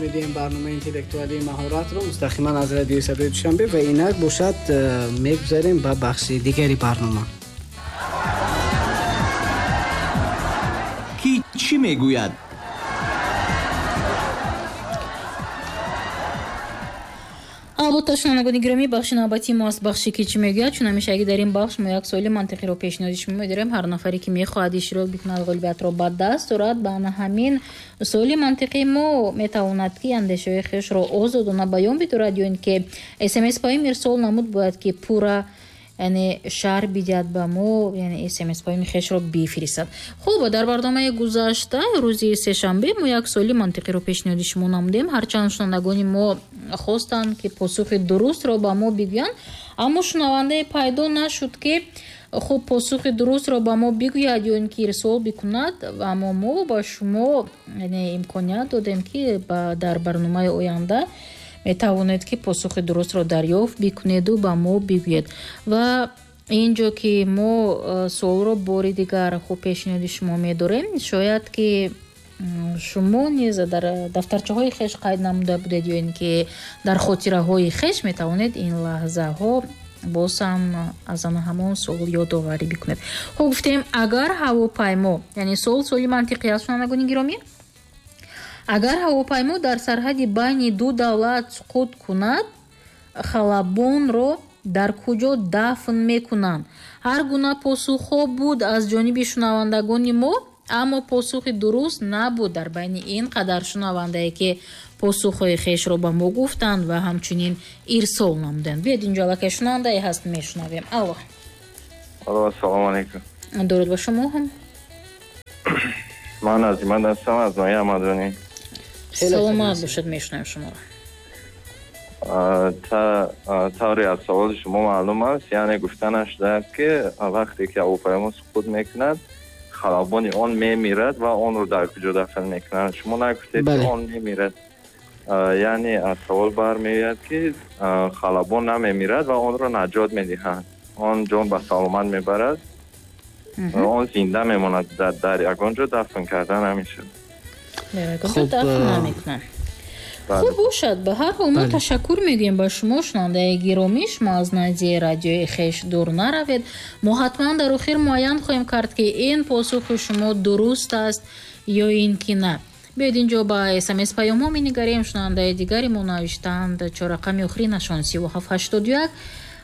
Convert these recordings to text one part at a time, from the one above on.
медиҳем барномаи интеллектуалии маҳоратро мустақиман аз радиои Садои Душанбе ва инак бошад мегузарем ба бахши дигари барнома. Ки чӣ мегӯяд? Албатта, шунавандагони гиромӣ, бахши навбатии мо аст бахши ки чӣ мегӯяд. Чун ҳамешагӣ дар ин бахш мо як суоли мантиқиро пешниҳоди шумо медорем. Ҳар нафаре ки мехоҳад иштирок бикунад, ғолибиятро ба даст орад, ба ана ҳамин суоли мантиқии мо метавонад ки андешаҳои хешро озодона баён бидорад ё ин ки смс паём ирсол намуд, бояд ки пурра, яъне шарҳ бидиҳад ба мо, яъне смс паёми хешро бифиристад. Хуб, дар барномаи гузашта рӯзи сешанбе мо як суоли мантиқиро пешниҳоди шумо намудем. Ҳарчанд шунавандагони мо хостанд ки посухи дурустро ба мо бигӯянд, аммо шунавандае пайдо нашуд ки хуб посухи дурустро ба мо бигӯяд ё ин ки ирсол бикунад. Аммо мо ба шумо, яъне, имконият додем ки дар барномаи оянда метавонед ки посухи дурустро дарёфт бикунеду ба мо бигӯед. Ва ин ҷо ки мо суолро бори дигар хуб пешниҳоди шумо медорем, шояд ки шумо низ дар дафтарчаҳои хеш қайд намуда будед ё ин ки дар хотираҳои хеш метавонед ин лаҳзаҳо боз ҳам аз ана ҳамон суол ёдоварӣ бикунед. Хуб, гуфтем, агар ҳавопаймо, яъне суол суоли мантиқӣ аст, шунавандагони гиромӣ, агар ҳавопаймо дар сарҳади байни ду давлат суқут кунад, халабонро дар куҷо дафн мекунанд? Ҳар гуна посухҳо буд аз ҷониби шунавандагони мо, аммо посухи дуруст набуд дар байни ин қадар шунавандае ки посухҳои хешро ба мо гуфтанд ва ҳамчунин ирсол намуданд. Биёед, инҷо аллакай шунавандае ҳаст, мешунавем. Алло. Алло, ассалому алайкум. Дуруд ба шумо ҳам. Ман Азимат ҳастам аз ноҳияи Ҳамадонӣ. Саломат бошед, мешунавем шуморо. Тавре аз саволи шумо маълум аст, яъне гуфта нашудааст ки вақте ки ҳавопаймо суқут мекунад, халабони он мемирад ва онро дар куҷо дафн мекунанд. Шумо нагуфтед ки он мемирад. Яъне аз савол бармеояд ки халабон намемирад ва онро наҷот медиҳанд. Он ҷон ба саломат мебарад, он зинда мемонад, дар ягон ҷо дафн карда намешавад. Хуб, дафн намекунанд. Хуб бошад, ба ҳар ҳол мо ташаккур мегӯем ба шумо, шунавандаи гиромӣ. Шумо аз назди радиои хеш дур наравед. Мо ҳатман дар охир муайян хоҳем кард ки ин посухи шумо дуруст аст ё ин ки на. Биёед, инҷо ба смс паёмҳо менигарем. Шунавандаи дигари мо навиштаанд, чорақами охиринашон 3781: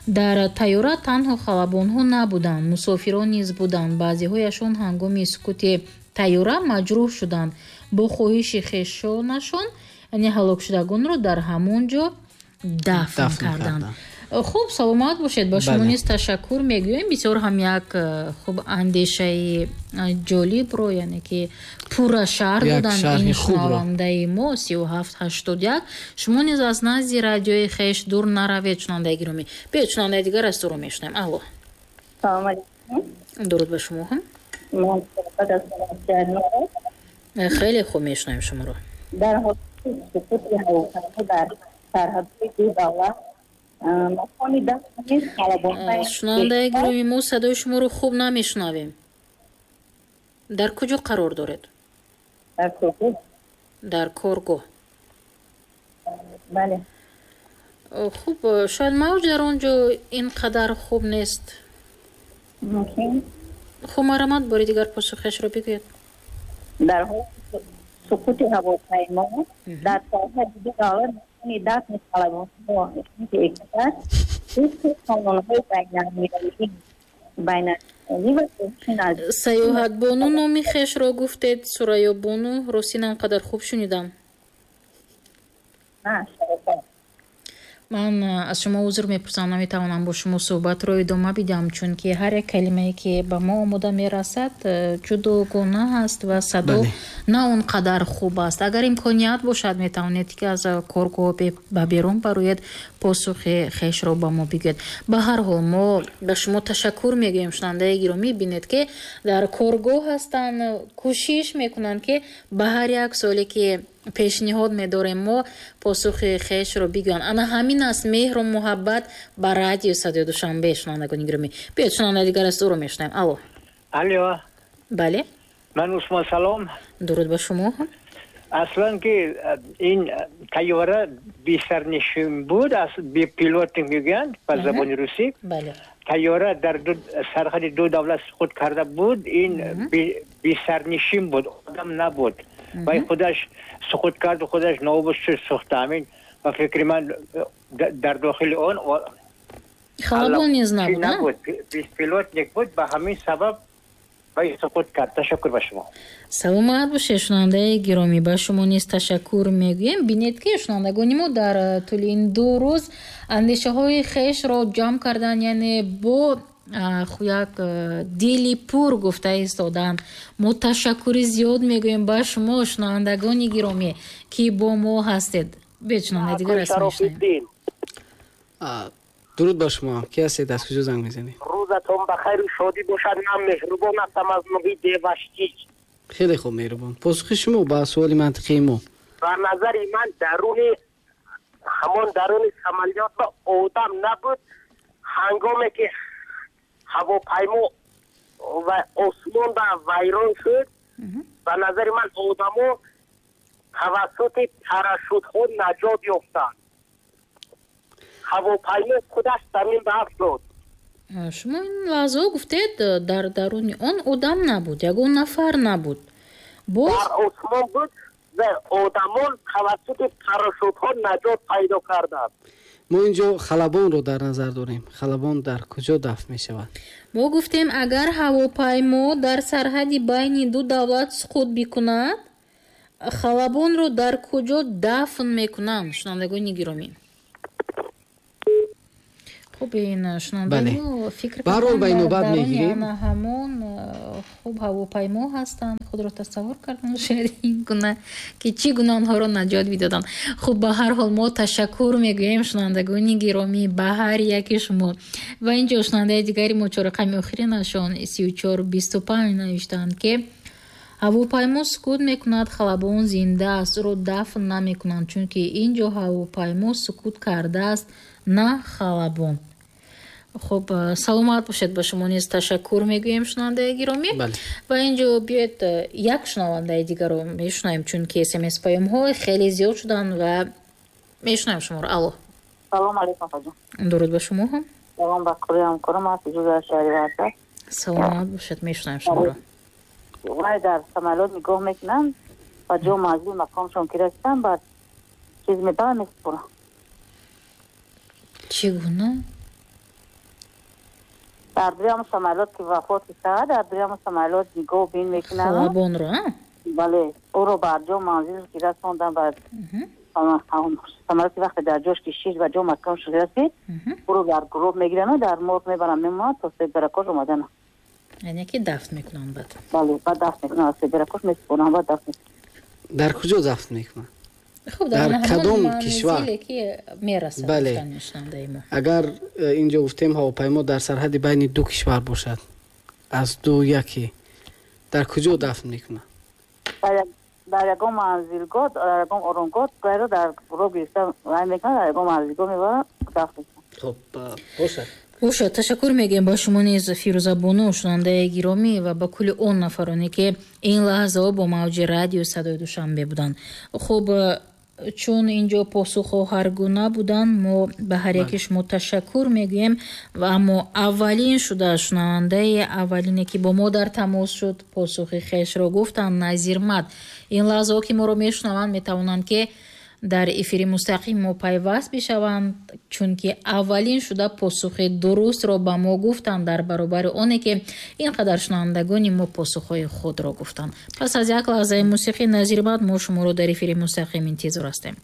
дар тайёра танҳо халабонҳо набуданд, мусофирон низ буданд. Баъзеҳояшон ҳангоми сукути тайёра маҷрӯҳ шуданд. Бо хоҳиши хешонашон, яъне ҳалокшудагонро дар ҳамон ҷо дафн карданд. Хуб, саломат бошед, ба шумо низ ташаккур мегӯем. Бисёр ҳам як хуб андешаи ҷолибро, яъне ки пурра шарҳ доданд ин шунавандаи мо 3781. Шумо низ аз назди радиои хеш дур наравед, шунавандаи гиромӣ. Биёед, шунавандаи дигар аз туро мешунавем. Алло. Салом алейкум. Дуруд ба шумо ҳам. Хеле хуб мешунавем шуморо. Дар ҳолати суқути ҳавопаймо дар сарҳадҳои ду давлат макони дафни халабонҳои Шунавандаи гиромӣ, мо садои шуморо хуб намешунавем. Дар куҷо қарор доред? Дар коргоҳ. Дар коргоҳ. Бале. Хуб, шояд мавҷ дар он ҷо ин қадар хуб нест. Мумкин. Хуб, марҳамат, бори дигар посухашро бигӯед. Дар ҳолати суқути ҳавопаймо дар сарҳади ду давлат макони дафни халабонҳо тибқи қонунҳои байналмилалӣ ва хоҳиши наздик Саёҳатбону номи хешро гуфтед, Сурайёбону, ростӣ на он қадар хуб шунидам. На, шарофат. Ман аз шумо узр мепурсам, наметавонам бо шумо суҳбатро идома бидиҳам, чунки ҳар як калимае ки ба мо омода мерасад, ҷудогона аст ва садо на он қадар хуб аст. Агар имконият бошад, метавонед ки аз коргоҳ ба берун бароед, посухи хешро ба мо бигӯед. Ба ҳар ҳол мо ба шумо ташаккур мегӯем, шунавандаи гиромӣ. Бинед ки дар коргоҳ ҳастанд, кӯшиш мекунанд ки ба ҳар як суоле ки пешниҳод медорем мо посухи хешро бигӯянд. Ана ҳамин аст меҳру муҳаббат ба радио Садои Душанбе, шунавандагони гиромӣ. Биёед, шунавандаи дигар аст, ӯро мешунавем. Алло. Алло. Бале. Ман Усмон, салом. Дуруд ба шумо ҳам. Аслан ки ин тайёра бесарнишин буд, аз бепилот мегӯянд ба забони русӣ. Тайёра дар сарҳади ду давлат суқут карда буд, ин бесарнишин буд, одам набуд. Вай худаш суқут кард, худаш нобуд шуд, сӯхта. Ҳамин ба фикри ман дар дохили он халабон низ набуд, беспилотник буд, ба ҳамин сабаб вай суқут кард. Ташаккур ба шумо. Саломат бошед, шунавандаи гиромӣ, ба шумо низ ташаккур мегӯем. Бинед ки шунавандагони мо дар тӯли ин 2 рӯз андешаҳои хешро ҷамъ карданд, яъне бо як дили пур гуфта истоданд. Мо ташаккури зиёд мегӯем ба шумо, шунавандагони гиромӣ, ки бо мо ҳастед. Биёед шунавандаи дигар аст мешунавем. Дуруд ба шумо. Ки ҳастед, аз куҷо занг мезанед? Рӯзатон ба хайру шодӣ бошад. Ман Меҳрубон ҳастам аз ноҳияи Деваштич. Хеле хуб, Меҳрубон. Посухи шумо ба суоли мантиқии мо? Ба назари ман даруни ҳамон даруни самолёт ба одам набуд. Ҳангоме ки ҳавопаймо ва осмон ба вайрон шуд, ба назари ман одамо тавассути парашютҳо наҷот ёфтанд. Ҳавопаймо худаш замин ба афтод. Шумо ин лаҳзаҳо гуфтед, дар даруни он одам набуд, ягон нафар набуд. Боз дар осмон буд ва одамон тавассути парашютҳо наҷот пайдо карданд. Мо инҷо халабонро дар назар дорем. Халабон дар куҷо дафн мешавад? Мо гуфтем, агар ҳавопаймо дар сарҳади байни ду давлат суқут бикунад, халабонро дар куҷо дафн мекунанд? Шунавандагони гиромӣ, хуб, ин шунавандаҳо фикр карданд, дар даруни ана ҳамон хуб ҳавопаймо ҳастанд, худро тасаввур карданд, шояд ин гуна ки чӣ гуна онҳоро наҷот бидоданд. Хуб, ба ҳар ҳол мо ташаккур мегӯем, шунавандагони гиромӣ, ба ҳар яки шумо. Ва инҷо шунавандаи дигари мо чорақами охиринашон 3425 навиштаанд, ки ҳавопаймо сукут мекунад, халабон зинда аст, ӯро дафн намекунанд, чунки ин ҷо ҳавопаймо сукут кардааст, на халабон. Хуб, саломат бошед, ба шумо низ ташаккур мегӯем, шунавандаи гиромӣ. Ва инҷо биёед як шунавандаи дигарро мешунавем, чунки смс паёмҳо хеле зиёд шуданд ва мешунавем шуморо. Алло. Салом алейкум, хоҷа. Дуруд ба шумо ҳам. Салом ба кулли ҳамкорам, аз ҷузъи шаҳри Варза. Саломат бошед, мешунавем шуморо. Вай дар самолёт нигоҳ мекунанд ва ҷо манзил мақомшон ки расиданд, баъд чиз мебаранд, месупоранд. Чӣ гуна? Дар дуюм самолёт ки вафот кард, дар дуюм самолёт нигоҳ бин мекунанд. Халабонро, а? Бале, ӯро ба ҷо манзил ки расонданд, баъд самолёт вақте дар ҷош ки шиш ба ҷо маконш расид, ӯро дар гурӯҳ мегиранд, дар морг мебаранд, мемонанд то седракош омадан. Яъне ки дафн мекунанд баъд? Бале, баъд дафн мекунанд, седракош месупоранд, баъд дафн мекунанд. Дар куҷо дафн мекунанд? Хуб, дар кадом кишвар ки мерасад? Бале, агар инҷо гуфтем ҳавопаймо дар сарҳади байни ду кишвар бошад, аз ду яке, дар куҷо дафн мекунанд? Дар ягон манзилгоҳ, дар ягон оронгоҳ, гайро дар гурӯҳ гирифта вай мекунанд, дар ягон манзилгоҳ мебаранд, дафн мекунанд. Хуб, бошад. Бошад, ташаккур мегӯем ба шумо низ, Фирӯзабону, шунавандаи гиромӣ, ва ба кулли он нафароне ки ин лаҳзаҳо бо мавҷи радиои Садои Душанбе буданд. Хуб, чун инҷо посухҳо ҳаргуна буданд, мо ба ҳар яки шумо ташаккур мегӯем. Ва аммо аввалин шуда шунавандаи аввалине ки бо мо дар тамос шуд, посухи хешро гуфтанд, Назирмат. Ин лаҳзаҳо ки моро мешунаванд, метавонанд ки дар эфири мустақим мо пайваст бишаванд, чунки аввалин шуда посухи дурустро ба мо гуфтанд, дар баробари оне ки ин қадар шунавандагони мо посухҳои худро гуфтанд. Пас аз як лаҳзаи мусиқӣ, Назирмат, мо шуморо дар эфири мустақим интизор ҳастем.